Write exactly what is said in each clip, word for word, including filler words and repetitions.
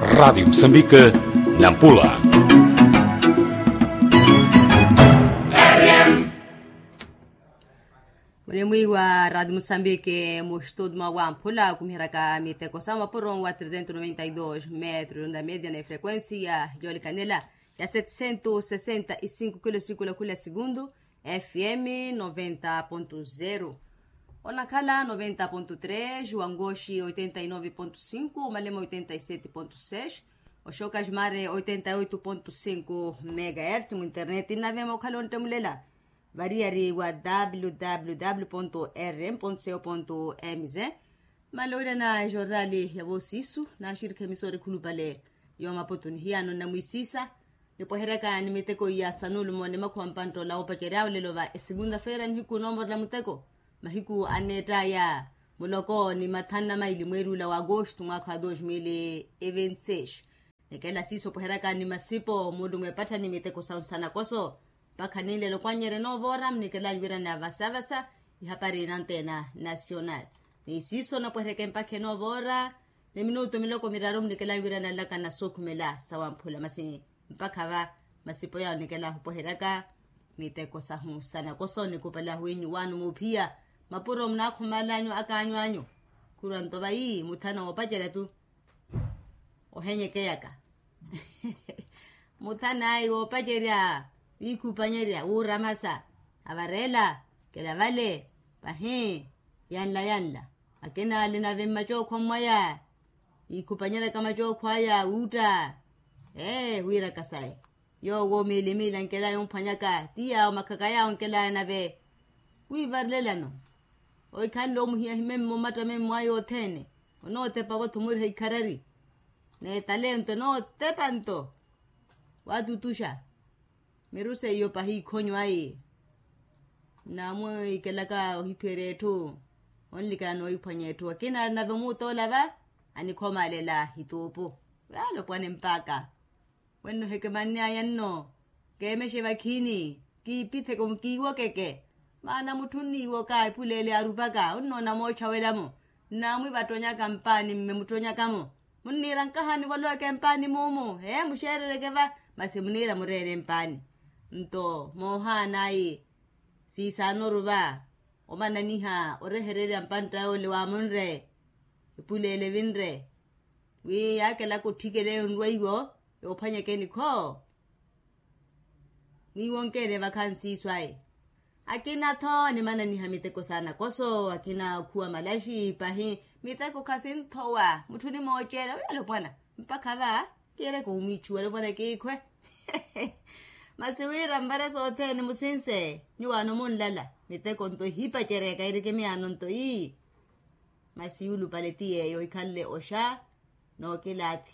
Radiyo musambike, nampula. Munimwiiwa radiyo musambike mustutu mwa wamphula khumiheraka miteko sa mapuro wa trezentu noventa y dos metro yonda media na efrequencia yolikanela ya setecento sesenta y cinco kilo sikula khula segundu. Fm noventa ponto zero, onakhala noventa ponto tres, wangoxi oitenta y nove ponto cinco, omalema oitenta y sete ponto seis, oxoka ximare oitenta y oito ponto cinco megahertz. Muinternet nnavema okhala ontemulela variyari wa www rm co mz. Maloira na ejornali ya voosiisu naxirikha emisori khulupale yo maputu nihiyano nnamwisisa nipweheryaka ni miteko iya sanulumo ni makhuwa mpanttoola woopacerya olelo va esegunta-feira nihiku noomorela muteko mahiku anneettaya muloko ni mathanu na maili mweeri ula wa agosto mwaakha wa dos mil e vinte seis. Nikela siiso opweheryaka ni masipo muulumwe epattha ni miteko sa onsanakoso mpakha ninlelo kwanyerya noovora mnikelanyu wirana vasavasa ihapari nanteena nasional. Ni siiso napweheryaka mpakha enoovoora ni minutu miloko miraru mnikelanyu wirana nlaka na sookhumela sa wamphula masi mpakha va masipo yawo nikelahu opweheryaka miteko sahu sanakoso nikupalahu inyu waano muuphiya mapuro munaakhumaalanyu akaanyu anyu. Khurwa nto vayi muthana woopacerya tu ohenyekeyaka muthana ayi woopacerya wiikhupanyerya wuuramasa avareela kela vale pahi yanla yanla akina ali nave mmacookhwa mmwaya yiikhupanyeryaka macookhwa aya wuutta ee wiiraka sayi yoowo miili miili ankela yomphwanyaka ti yaawo makhaka yaawo ankela nave wiivarilelano ohikhanle omuhiya himemmo mmatta memmo aya othene onootepaka othumuriha ikharari n'etalento enootepa nto waatutuxa miru seiyo pahi ikhonyo ayi nnaamwiikelaka ohiphiyerya etthu onlikana noohiphwanya etthu akina nave omuuttoola va anikhomaalela hituupu yaala opwane mpakha wenno hekemanny'aya nno keemexe vakhiini kiipitheke kiiwokeke maana mutthu onniiwoka epuleele yaarupaka onnoona moottxawela-mo nnaamwivattonyaka mpaani mme mutthonyaka-mo munniira nkaha nivoloweke mpaani muumu ee muxeerereke va masi muniira mureene mpaani nto moohaana ayi siisaanoru va omananiha orehererya mpantta yoole waamunre epuleele evinre wi yaakelaka otthikeleyo nrwa iwo yoophwanyeke nikho mwiiwonkeene vakhansiiswaye akina-tho nimananiha miteko saana koso akina okhuwa malaxi pahi miteko khasinthowa mutthu onimooceela wi alopwana mpakha va kiireke omwiichuwa alopwana kiikhwe masi wira mvare sothene musinse nyuwaano munlala miteko nto ehipacereya kairikimiyaano nto ii masi yuulupale ti yeeyo ohikhanle oxa nookilaathi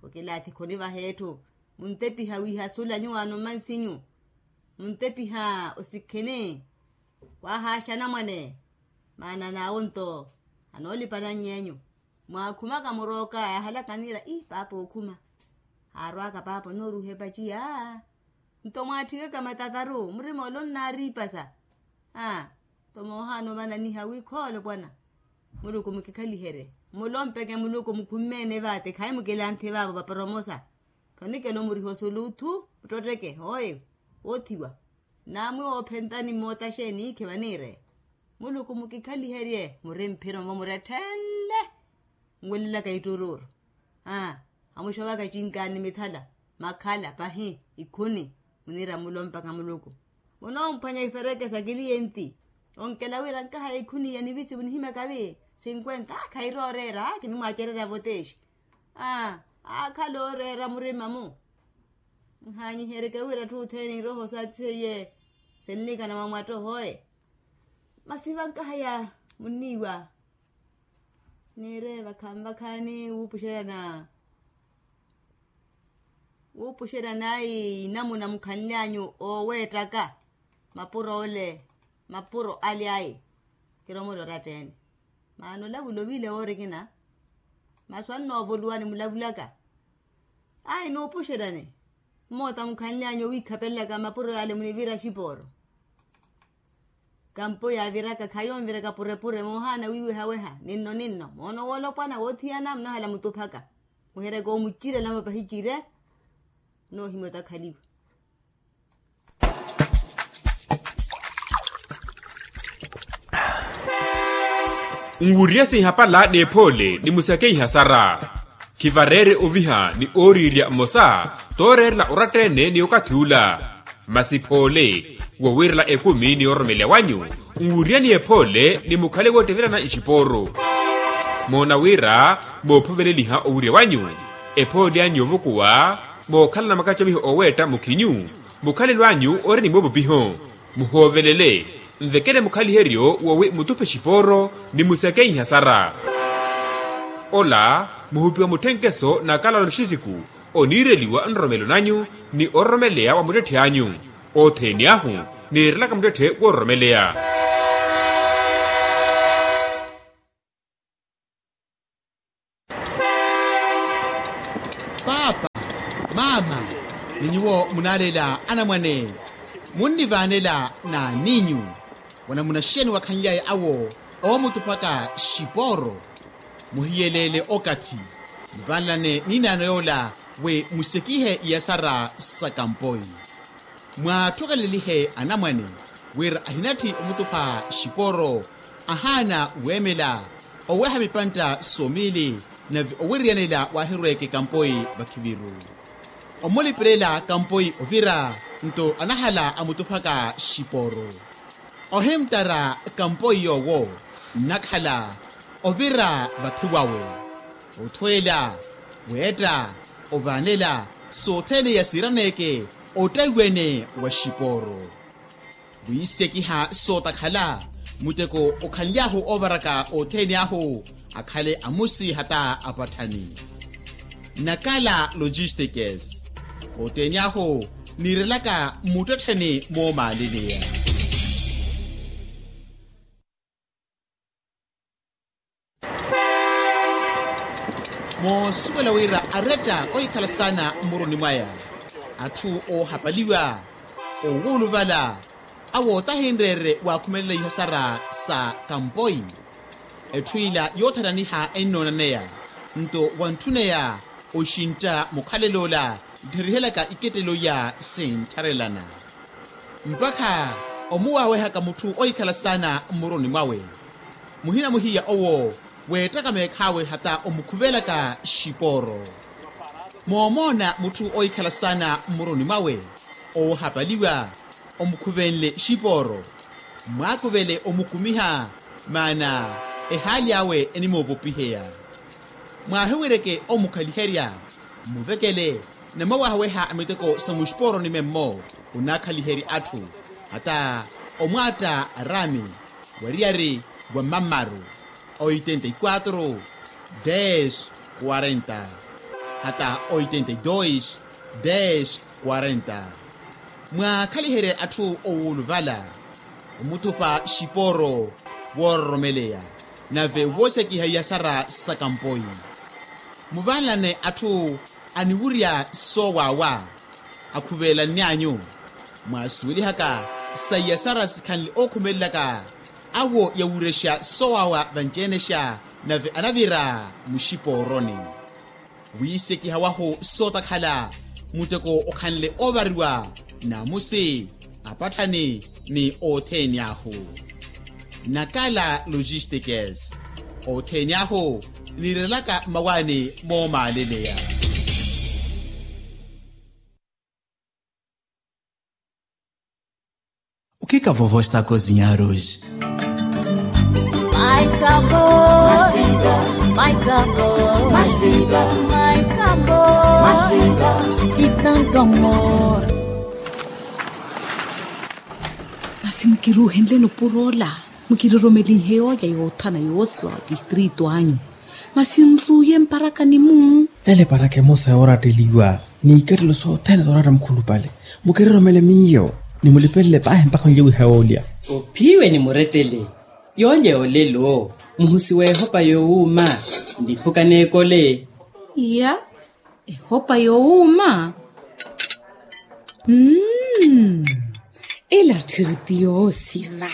okilaathi khonivaha etthu muntepiha wiihasula nyuwaano mmansinyu muntepiha osikhini waahaaxa anamwane maana n'awo nto anoolipana ny'enyu mwaakhumaka murooka yaahalaka niira ii paapa ookhuma haarwaka paapa onooruha epaciya nto mwaatthikaka matataru murima ole onnaariipasa aa nto moohaana omananiha wi khoolo pwana muluku mukikhaliherye mulompeke muluku mukhumme-ene vaate khayi mukilanthi vaavo vaporomosa khonikela omuriha osuluuthu muttotteke hooye woothiwa nnaamwi woophentani mmoota xeeni iikhi vaniire muluku mukikhaliherye muri mphiro mvo muretthenle nwelelaka itturuuru aa amuxovaka cinkaani mithala makhala pahi ikhuni muniira mulompaka muluku munoomphwanya ifereke sa kiliyenti onkela wira nkaha ya ikhuni iya nivisi munihimyaka vi sinkwenta aa khairooreera aa kinimwaacererya voteexi aa aakhala ooreera murima-mu nhaanyiheryeke wira atthu othene iroho saathi seiye sinlikana mwa mwattohoye masi vankaha ya munniiwa niire vakhanvakhaani wuupuxerana wuupuxerana ayi inamuna mukhanly'anyu ooweettaka mapuro ole mapuro ale ayi kiromole oratta-ene maana olavula ovile woorikina masu annoovoluwa nimulavulaka ayi nuupuxerane mmoota mukhanly'anyu owiikhapelelaka mapuro yale munivira xipooro kampo yaaviraka khayi onviraka purepure moohaana wiiwehaweha ninno ninno moono woolopwana woothiyana munahala mutuphaka Muhereke omucire namo pahicire. Noohimya otakhaliwa. Nwurya sinhapala n'ephoole ni musakeiha sara. Khivareere oviha ni ooriirya mmosa tooreerela oratta-ene ni okathi ula. Masi phoole wowiirela ekumi ni ororomeleya wanyu. Nwurya ni ephoole ni mukhale woottevelana ixipooru. Moona wira moophoveleliha owirya wanyu. Ephoole anyu yoovukuwa mookhalana makacomiho ooweetta mukhinyu. Mukhalelo anyu ori ni moopopiho. Muhoovelele. Nvekele mukhaliheryo wowi mutuphe xipooro ni musakeiha sara. Ola muhupiwa mutthenkeso na kala loxisiku oniireliwa nroromelo nanyu ni ororomeleya wa muttetthi anyu. Othene ahu niirelaka muttetthe woororomeleya. Paapa, maama, ni nyuwo munaaleela anamwane, munnivaanela n'aninyu? Wanamunaxeni wakhanlyaye awo oomutuphaka xipooro. Muhiyeleele okathi, muvaanelane n'inaano yoola wi musekihe iyasara sa kampoi. Mwaattukelelihe anamwane wira ahinatthi omutupha xipooro. Ahaana weemela oweeha mipantta somiili nave owiryanela waahirweeke kampoi vakhiviru. Omulipelela kampoi ovira nto anahala amutuphaka xipooro. Ohimttara kampoi yoowo nnakhala ovira vathi wawe. Othweela, weetta, ovaanela sothene yasiiraneeke ottaiwene wa xipooro. Wiisekiha sootakhala muteko okhanly'ahu oovaraka othene ahu akhale amusi hata apatthani. Nakala logistikes. Othene ahu niirelaka mmuttettheni moomaaleleya. Moosuwela wira aretta ohikhala saana mmuruni mwaya atthu oohapaliwa owuuluvala awo tahinreerye waakhumelela ihasara sa kampoi. Etthu ila yoothananiha ennoonaneya nto wantthuneya oxintta mukhalel'ola nttherihelyaka ikettelo iya sinttharelana. Mpakha omuwaawehaka mutthu ohikhala saana mmuruni mwawe. Muhina muhiya owo weettaka meekhaawe hata omukhuvelaka xipooro. Moomoona mutthu ohikhala saana mmuruni mwawe oohapaliwa omukhuvenle xipooro. Mwaakuvele omukumiha maana ehaali awe enimoopopiheya. Mwaahiwireke omukhaliherya mmuvekele namawaaweha a miteko sa muxipooroni memmo. Onaakhaliherya atthu hata omwaatta araami wariyari wa mmammaru oitenta y quatro des quarenta hata oitenta y dos des quarenta. Mwaakhaliherye atthu owuuluvala omuthupa xipooro woororomeleya nave woosekiha iyasara sa kampoi. Muvaanelane atthu aniwurya soowaawa akhuveelanny'anyu. Mwaasuwelihaka sa iyasara sikhanle ookhumelelaka awo yawurexa soowaawa vanci-enexa nave anavira muxipooroni. Wiisekiha wahu sootakhala muteko okhanle oovariwa naamusi apatthani ni othene ahu. Nakala logistikes. Othene ahu niirelaka mmawaani moomaaleleya. O que que a vovó está a cozinhar hoje? Mais sabor, mais vida, mais sabor, mais vida, mais sabor, mais vida, e tanto amor. Masi mukiruuhenleni opuro ola, mukiroromelinhe yoolya yoothana yoosiwa wa tistrito anyu. Masi nruuye mparakani-mu. Ele eparaka emosa yooratteliwa n'ikettelo sothene sooratta mukhulupale. Mukiroromele miyo ni mulipelele paahi mpakha onlye wiha yoolya. Ophiwe ni murettele yoolya ya olelo. Muhusi w'ehopa yoowuuma niphuka n'ekole. Iya, ehopa yoowuuma. Mm. Ela tthiri ti yoosiva.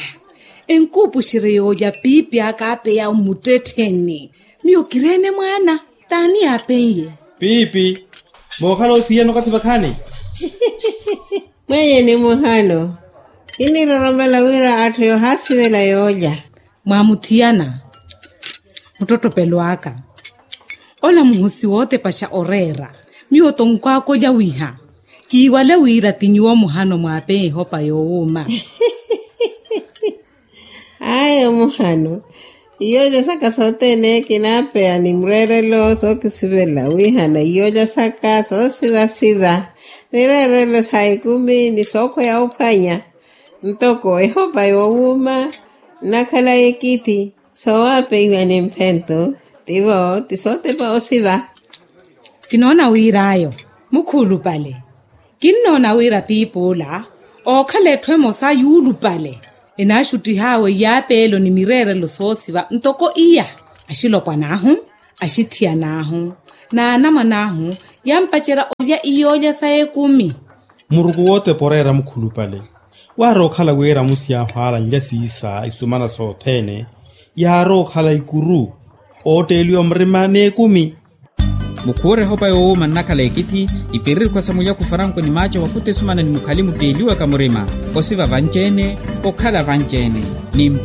Enkuupuxerye yoolya piipi aka apeya mmuttettheni. Miyo kireene mwaana t'ani aapen'ye? Piipi, mookhala ophiyana okathi vakhaani? Mwenye ni muhano. Kiniroromela wira atthu yoohaasivela yoolya. Mwaamuthiyana muttottopelo aka. Ola muhosi wootepaxa oreera. Miyo tonkwaakolya wiha kiiwale wira ti nyuwo muhano mwaapeya ehopa yoowuuma. Ayo muhano. Iyo jasaka sothene kinaapeya ni mureerelo sookisivela wihana iyo jasaka soosivasiva. Mireerelo sa ekumi ni sookhweya ophwanya. Ntoko ehopa yoowuuma nnakhala ekithi. Soowapeiwa ni mphento. Tivo ti sootepa osiva. Kinoona wir'ayo mukhuulupale. Kinnoona wira piip'ula ookhala etthu emosa yuulupale enaaxuttih'awe iyaapeelo ni mireerelo soosiva ntoko iya. Axilopwan'ahu, axithiyan'ahu, n'anamwan'ahu yaampacerya olya iyoolya sa ekumi. Muruku wootepa oreera mukhulupale. Waari okhala wira amusi yaahu ala nlya siisa isumana sothene. Yaari okhala ikuru ootteeliwa murima n'ekumi. Mukhuure ehopa yoowuuma nnakhala ekithi. Iperirikhwa sa mulyaku faranko ni maaco wakhuta esumana ni mukhali mutteeliwaka murima. Osiva vanci-ene, okhala vanci-ene ni mphe.